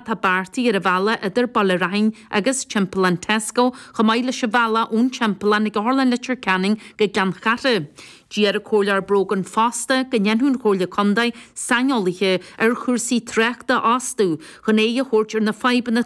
Atá beartaithe ar an bhealach idir Baile Raithin agus Timpeallán Tesco, chomh maith leis an bhealach ón Timpeallán ag Otharlann Leitir Ceanainn go Gleann Chatha. D'iarr an Comhairleoir Brogan fosta go ndéanfadh an Chomhairle Contae saineolaithe ar chúrsaí tráchta a fhostú chun aghaidh a thabhairt ar na fadhbanna.